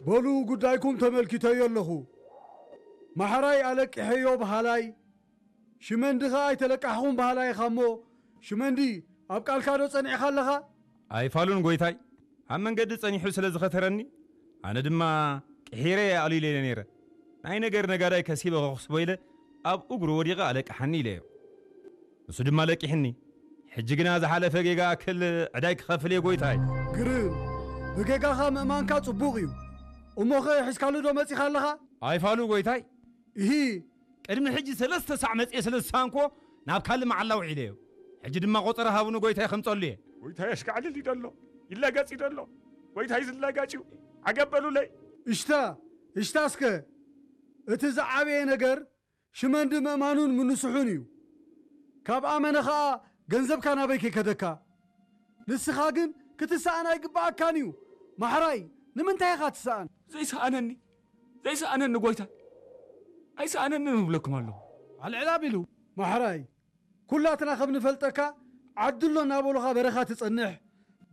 በሉ፣ ጉዳይኩም ተመልኪተዮ ኣለኹ። ማሕራይ ኣለቂሐዮ በሃላይ፣ ሽመንዲ ኸኣ ኣይተለቃሕኹም በሃላይ ኢኻ እሞ፣ ሽመንዲ፣ ኣብ ቃልካ ዶ ጸኒዕካ ኣለኻ? ኣይፋሉን ጎይታይ፣ ኣብ መንገዲ ጸኒሑ ስለ ዝኸተረኒ፣ ኣነ ድማ ቅሒረ እየ ኣሉ ኢለ ነይረ። ናይ ነገር ነጋዳይ ከሲበ ከኽስቦ ኢለ ኣብ እግሩ ወዲቐ ኣለቅሓኒ ኢለዮ። ንሱ ድማ ለቂሕኒ። ሕጂ ግና ዝሓለፈ ጌጋ ኣክል ዕዳይ ክኸፍል እየ ጎይታይ። ግርም፣ ብጌጋኻ ምእማንካ ጽቡቕ እዩ። እሞኸ ሒዝካሉ ዶ መጺኻ ኣለኻ? ኣይፋሉ ጎይታይ። እሂ። ቅድሚ ሕጂ ሰለስተ ሳዕ መጽየ ስለ ዝሰኣንክዎ ናብ ካልእ መዓላ ውዒለዮ። ሕጂ ድማ ቆጸራ ሃቡኒ ጎይታይ ከምጸሉ እየ። ጎይታይ ኣሽካዕልል እዩ ደሎ፣ ይላጋጽ እዩ ደሎ። ጎይታይ ዝላጋጭ እዩ። ዓገብ በሉለይ። እሽታ፣ እሽታ እስከ። እቲ ዝዓበየ ነገር ሽመንዲ ምእማኑን ምንስሑን እዩ። ካብ ኣመነ ኸኣ ገንዘብካ ናበይ ከይከደካ? ንስኻ ግን ክትሰኣን ኣይግብኣካን እዩ። ማሕራይ፣ ንምንታይ ኢኻ ትሰኣን? ዘይሰኣነኒ፣ ዘይሰኣነኒ ጎይታይ፣ ኣይሰኣነንን እብለኩም ኣለኹ። ኣልዕል ኣቢሉ። ማሕራይ፣ ኩላትና ከም ንፈልጠካ ዓዲ ኣሎ እናበሉኻ በረኻ ትጸንሕ፣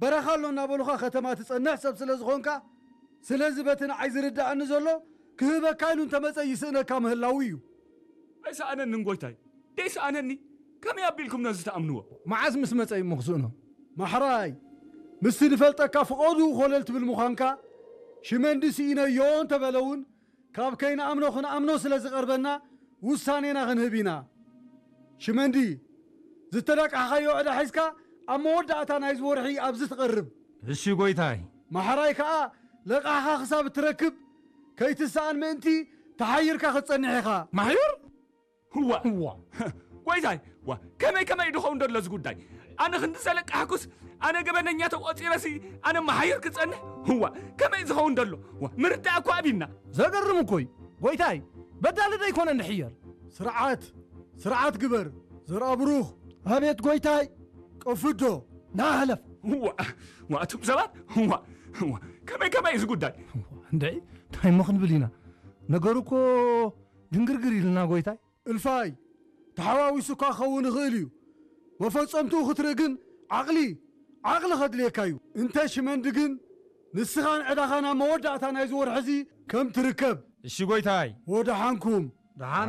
በረኻ ኣሎ እናበሉኻ ከተማ ትጸንሕ ሰብ ስለ ዝኾንካ፣ ስለዚ በቲ ንዓይ ዝርድኣኒ ዘሎ ክህበካ ኢሉ እንተመጸ ይስእነካ ምህላዉ እዩ። ኣይሰኣነንን ጎይታይ፣ ደይሰኣነኒ ከመይ ኣቢልኩም ነዚ ትኣምንዎ? መዓስ ምስ መጸ እዩ እሞ ክስእኖ? ማሕራይ፣ ምስቲ ንፈልጠካ ፍቐዱ ኮለል ትብል ምዃንካ፣ ሽመንዲ ስኢነዮ እንተበለ እውን፣ ካብ ከይንኣምኖ ክንኣምኖ ስለ ዝቐርበና፣ ውሳኔና ክንህብ ኢና። ሽመንዲ፣ ዝተዳቃሕኻዮ ዕዳ ሒዝካ ኣብ መወዳእታ ናይዚ ወርሒ ኣብዚ ትቐርብ። እሺ ጎይታይ። ማሕራይ ከኣ ለቃሕኻ ክሳብ እትረክብ ከይትሰኣን ምእንቲ ተሓይርካ ክትጸንሕ ኢኻ። ማሕዩር? ህዋ። ህዋ። ጎይታይ፣ ዋ፣ ከመይ ከመይ ድኸውን ደሎ እዚ ጉዳይ? ኣነ ክንዲ ዘለቃሕኩስ፣ ኣነ ገበነኛ ተቆጺረሲ፣ ኣነ መሓይር ክጸንሕ? ህዋ፣ ከመይ ዝኸውን ደሎ? ዋ፣ ምርዳእ እኮ ኣቢና። ዘገርም እኮ እዩ። ጎይታይ፣ በዳሊ ዶ ኣይኮነን ድሕየር? ስርዓት፣ ስርዓት ግበር። ዘርኣ ብሩኽ። ኣቤት ጎይታይ። ቀፍዶ። ና ህለፍ። ዋ፣ ዋ፣ እቶም ሰባት፣ ዋ፣ ዋ፣ ከመይ ከመይ እዚ ጉዳይ? እንድዒ፣ እንታይ እሞ ክንብል ኢና? ነገሩ እኮ ድንግርግር ኢልና ጎይታይ። እልፋይ፣ ተሓዋዊሱካ ክኸውን ይኽእል እዩ። መፈጸምትኡ ክትርኢ ግን ዓቕሊ፣ ዓቕሊ ከድልየካ እዩ። እንተ ሽመንዲ ግን ንስኻን ዕዳኻን ኣብ መወዳእታ ናይዚ ወርሒ እዚ ከም ትርከብ። እሺ ጎይታይ። ወደሓንኩም። ደሓን።